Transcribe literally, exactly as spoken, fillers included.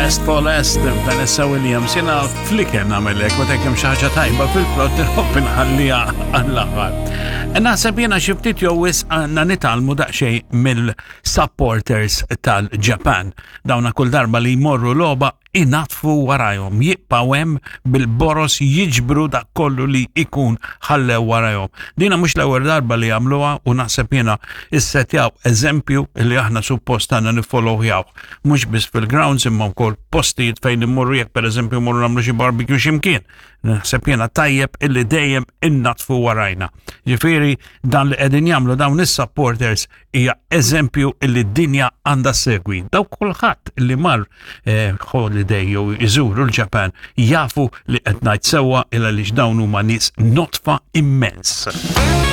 Best for Last, Vanessa Williams. Jiena fl-ikel nagħmel hekk, meta hemm xi ħaġa tajba fil-plott inħobb inħalliha għall-aħħar. Naħseb jiena xi ftit jew wisq għandna nitgħallmu daqsxejn mill-supporters tal-Ġapan. Dawna kull darba li jmorru logħba inaddfu warajhom, jibqgħu hemm bil-boros jiġbru dak kollu li ikun ħallew warajhom. Dina mhux l-ewwel darba li jagħmluha u naħseb jiena issetjaw eżempju li aħna suppost għandna niffollowjaw. Mhux biss fil-grounds imma wkoll postijiet fejn immorru, jekk pereżempju mmorru nagħmlu xi barbecue x'imkien. Naħseb jiena tajjeb illi dejjem innaddfu warajna. Ġifieri dan li qegħdin jagħmlu dawn is-supporters hija eżempju illi d-dinja għandha ssegwi. Daw kulħadd li mar eh, holiday jew iżuru l-Ġapan jafu li qed ngħid sewwa illa li dawn huma nies nodfa immens.